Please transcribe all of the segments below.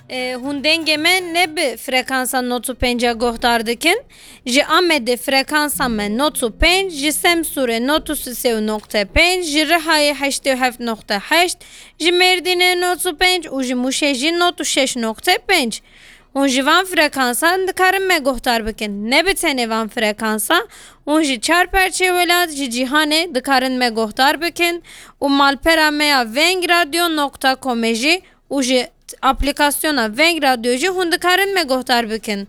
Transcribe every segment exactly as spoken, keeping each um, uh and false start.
E, hûn dengê me ne bi frekansa nod û pênc guhdar dikin. Ji Amedê frekansa me nod û pênc, ji Semsûrê nod û sê û nokte pênc, ji Rihayê heştê û heft nokte heşt, ji Mêrdînê nod û pênc û ji Mûşê jî nod û şeş nokte pênc. Hûn ji van frekansan dikarin me guhdar bikin. Ne bi tenê van frekansa, hûn ji çar perçê welat, ji cîhanê dikarin me guhdar bikin û malpera me ya veng radyo nokta comê jî û ji aplîkasyona Veng Radyo jî hûn dikarin me guhdar bikin.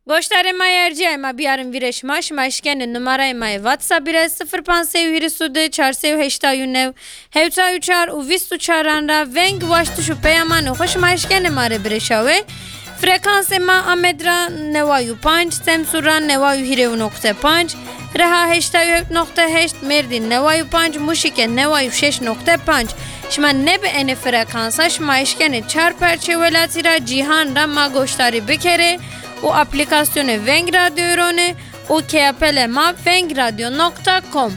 Goşdarê ma yê erciyayê ma biyarin vîrê şima, şima eşkenê numarayê ma yê WhatsApp bîre sifir panc sê û hîris û du çar sê û heştay û neh hewta û çar û vîst û çaran ra veng, waştiş û peyamanê xwe şima eşkenê ma rê birêşawê. Frekansê ma Amed ra neway û panc, Semsûr ra neway û hîrê û nokte panc, Riha heştay û heft nokte heşt, Mêrdîn neway û panc, Mûşîke neway û şeş nokte panc. Şima ne bi enê frekansa, şima eşkenê çar perçê welatî ra, cîhan ra ma goşdarî bikerê û aplîkasyonê Veng Radyoyê ronê û keyapelê ma veng radyo nokta com.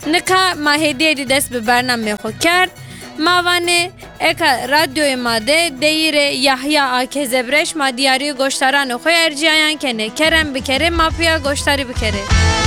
Nika ma hêdî hêdî dest bi bernameyê xwe kerd. Ma vanê eka radyoyê ma de deyîrê Yahya a Kezebre, şima diyarî goşdaranê xwe erciyayan kenê. Kerem bikerê, ma piya goşdarî bikerê.